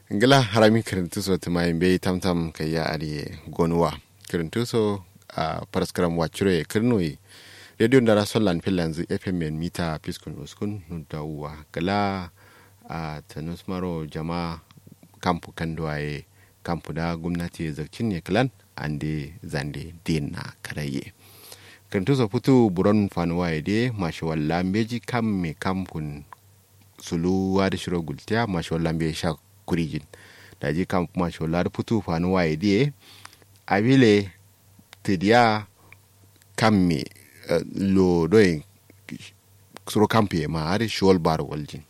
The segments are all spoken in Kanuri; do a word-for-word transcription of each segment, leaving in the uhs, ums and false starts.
Ngla harami kǝrǝntǝ so tǝmayin beyi tamtam kaiya adǝ ye gonuwa. Kǝrǝntǝ so a faraskaram wacciro ye kǝrnuwi. Rediyo ndara sollan fillanzǝ fm en mita fiskun uskun nudda uwa kǝla. A tanus maro jama kampu kanduwa ye kampu da gumnati ye zakcin ye kǝlan ande zande din na karayye. Kǝrǝntǝ so futu buron fanuwa ye de mashawalla mbeji kam me kampun suluwa dǝ shiro gultiya mashawalla mbeji sha kurijin. Daji kam mashawalla dǝ futu fanuwa ye diye. Abile tǝdiya kamme lo doye suro kampuye ma adǝ shiwol baro waljin.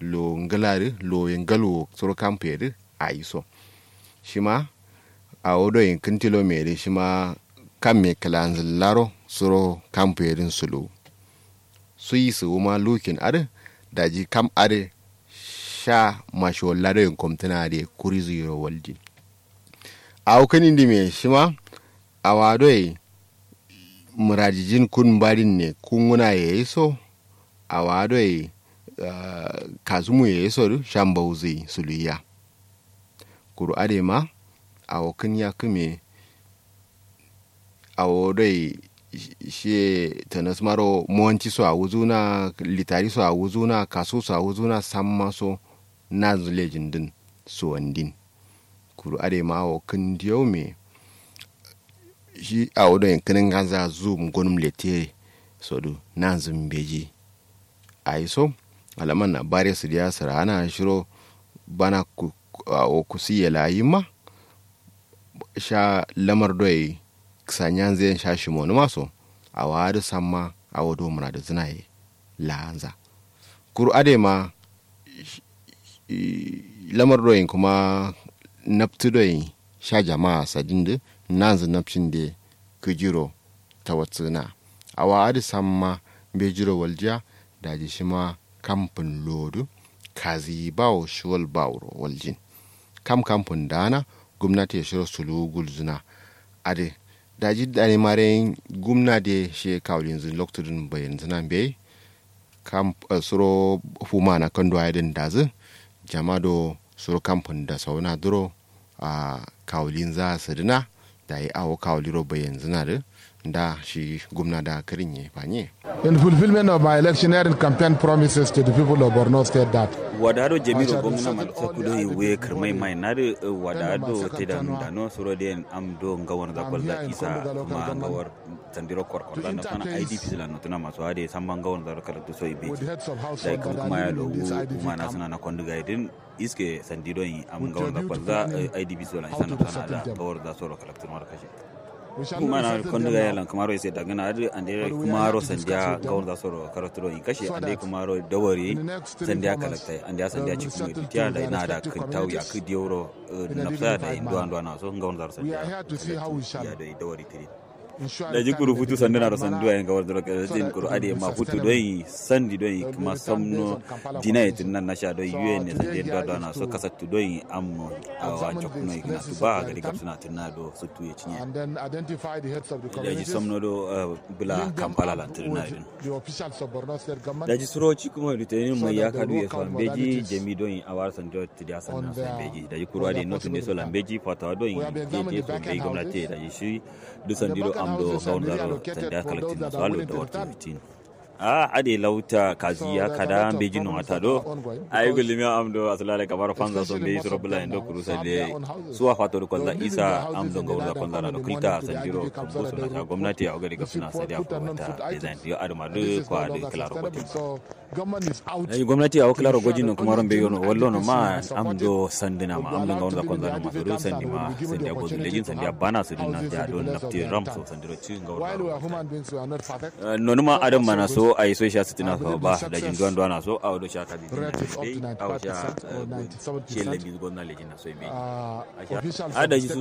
Lo ngǝla dǝ lo ye ngalwo suro kampuye dǝ ayi so. Shima awo doye kǝntilo me dǝ shima kamme kǝlanzǝllaro suro kampuye dǝn suluwu. Suyi sǝwuma lukin adǝ daji kam adǝ sha mashiwalla doye komtǝna adǝ ye kurizu yiro waljin. Awo kǝnindime shima awa doye mǝradijin kun mbarin ne kunguna ye so. Awa doye kasumu ye so dǝ sha mbauzi suluyiya. Kuru adǝ ye ma awo kǝn yakkǝ me awo doi shiye tanasmaro mowanti so awuzuna litari so awuzuna kasu so awuzuna samma so nanzu lejin dǝn suwandin. Kuru adai ma awo kǝn diyau me shi awo doi kǝnin ganza zum gonum lete sodu nanzu mbeji. Ayi so alaman na bare sǝdiya sǝra'ana shiro bana awo kusi yela yimma. Sha lamar doi kǝsanyanzǝ yen sha shimonǝma so awo adǝ samma awo do mǝradǝzǝna ye la'anza. Kuru adai ma lamar doi kuma naptǝ doi sha jama'a sadin dǝ nanzǝ napcin de kǝjiro tawatsǝna. Awo adǝ samma mbejiro waljiya. Daji shima kampǝn lo'o dǝ kaziyi bawo shiwal baworo waljin. Kam kampǝn da'ana gumnati ye shiro suluwu gulzǝna. Adǝ daji dani mare gumna de shiye kawulinzǝ loktu dǝn bayanzǝna mbeyi. Kam suro fuma na kanduwa ye dǝn dazǝ jama do suro kampǝn dasauna duro. Ahh kawulinza sǝdǝna dayi awo kawuliro bayanzǝna dǝ nda shi gumna da kǝrinye fanye. In fulfilment of my electioneering campaign promises to the people of Borno State that wada do jamiro gomna malta kudo iwe kǝrmai mai nadǝ wada do tedanu dano suro den am do ngawon za kwalza isa kuma ngawar sandiro korkor da nafsana idps la notuna maso ade samma ngawon za do kalaktu so ibeji. Dayi kuma kuma ya logu kuma nasuna na konduga idin iske sandi doi am ngawon za kwalza idps la isa nafsana da ngawon za soro kalaktu mara kashe. Kuma na konduga ya lan kumaro ise dagana adǝ ande kumaro sandiya ngawon za soro kalaktu doi kashe ande kumaro dawari sandiya kalaktai andiya sandiya cikin mai dutiya da ina da kintau ya kǝ diyoro nafsa da induwa nduwa na so ngawon za sandiya ya doi dawari tiri. Daji kuru futu sanduna do sanduwa ye ngawar duro kazin kuru adai ma futu doi sandi doi kuma samno dina ye tǝnna nasha doi yuyen ne sandi ye duwa duwa na so kasattu doi amno awa cokkuno ye kǝna tuba gadi gabsuna tǝnna do suttu ye cinye. Daji samno do bǝla kampala lan tǝnna ye dǝn daji suro ci kuma duteni mai ya kadu ye so mbeji jami doi awar sandi doi tǝdiya sanna so mbeji daji kuru adai notu nde so la mbeji fatawa doi jeje so mbeji gomnati ye daji shi duk sandi do am do ngawon zaro sandi a kalaktin na so allo da wartu fitin. Ahh adai lauta kazi ya kada mbeji no ata do. Ayi gullumiya am do asulala kamaro fanza so mbeji suro bula yen do kuru sande suwa fato do kwalza isa am do ngawon za kwalza na do kǝlta sandiro kambo so na sha gomnati awo gadi gabsuna sadiya furwata design yo adǝ ma dǝ kwa dǝ kǝlaro gotin. Daji gomnati awo kǝlaro gojin no kumaro mbeyi yono wallo no ma am do sandǝna ma am do ngawon za kwalza no ma so dǝ sandi ma sandiya gozu lejin sandiya bana sǝdǝ nandiya do nafti ram so sandiro ci ngawon za ro. Nonuma adam mana so ayi so sha sǝtǝna so ba daji nduwa nduwa na so awo do sha kabi dina dai awo sha ciye lambi gomna lejin na so mbeji. Ahh daji su